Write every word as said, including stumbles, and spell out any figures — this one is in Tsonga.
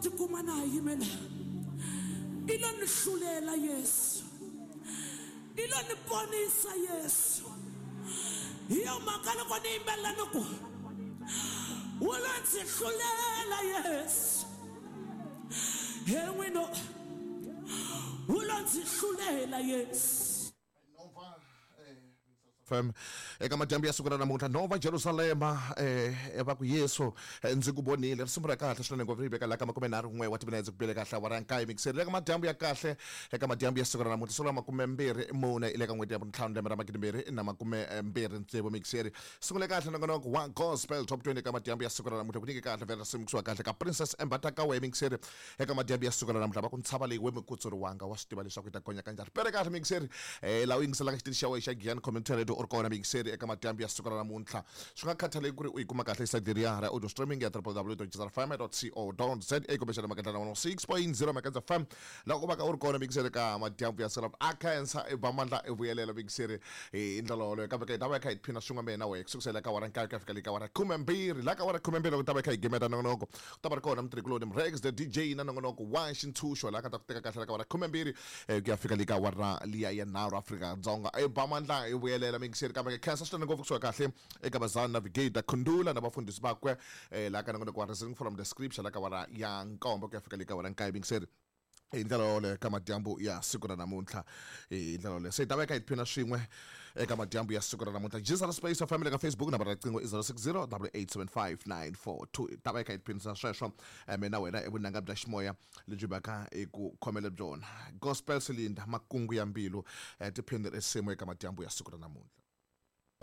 Tikuma na ha yimela i lo ni hlulela Yesu, i lo ni ponisa Yesu. Hi yo mhaka loko ni yimbelela ni ku wu lo ndzi hlulela Yesu, he n'wino wu lo ndzi hlulela Yesu. F M eka madyambu ya siku ra namuntlha Nova Jerusalema eh va ku Yesu ndzi ku vonile risimu ra kahle swinene ngopfu ri veka la ka makume nharhu n'we wa timinetse ku bile kahle awara nkaye mikiseri eka madyambu ya kahle eka madyambu ya siku ra namuntlha siku ra makume mbirhi mune le ka n'hweti ya vuntlhanu lembe ra magidi mbirhi na makume mbirhi tsevu mikiseri sungule kahle nongonoko wa Gospel Top twenty eka madyambu ya siku ra namuntlha ku nyike kahle vhela risimu kusuka kahle ka Princess Embatakawe mikiseri eka madyambu ya siku ra namuntlha va ku ntshava leyi we mikutsuriwanga wa swi tiva leswaku yi ta gonya kanjhani pere kahle mikiseri eh laha u yingiselaka xitichi xa wena xa Giyani Community Radio u ri kona mikiseri eka madyambu ya siku ra namuntlha swi nga khathaleki ku ri u yi kuma kahle site leriya ra audio streaming ya w w w dot jesus f m dot co dot za kumbexana makendla na one oh six point zero Makendla F M loko u va ka u ri kona mikiseri ka madyambu ya siku ra a khensa i ba mandla i vuyelela mikiseri hi ndlela yoleyo kambe ka hi ta va hi kha hi tiphina swin'we mina na wehe kusukusela ka awara nkaye ku ya fika le ka awara khumembirhi laha ka awara khumembirhi loko ta va hi kha hi gimeta nongonoko ku ta va ri kona mutirhikuloni Mrex the D J na nongonoko wa xintshunxo laha ka ta ku teka kahle la ka awara khumembirhi ku ya fika le ka awara liya ya nharhu Afrika-Dzonga i ba mandla i vuyelela mikiseri kambe khensa swinene ngopfu kusuka kahle eka Bazan Navigator Khundula na vafundhisi vakwe laha ka nongonoko wa Reasoning from the Scripture laha ka awara ya nkombo ku ya fika le ka awara nkaye mikiseri hi ndlela yoleyo ka madyambu ya siku ra namuntlha hi ndlela yoleyo se hi ta va hi kha hi tiphina swin'we eka madyambu ya siku ra namuntlha Jesus Space of Family ka Facebook nambara ya riqingho i zero six zero double eight seven five nine four two hi ta va hi kha hi tiphinisa sweswo mina wena evunanga bya ximoya lebyi va ka hi ku khomele byona Gospel Silinda makungu ya mbilu tiphini risimu eka madyambu ya siku ra namuntlha.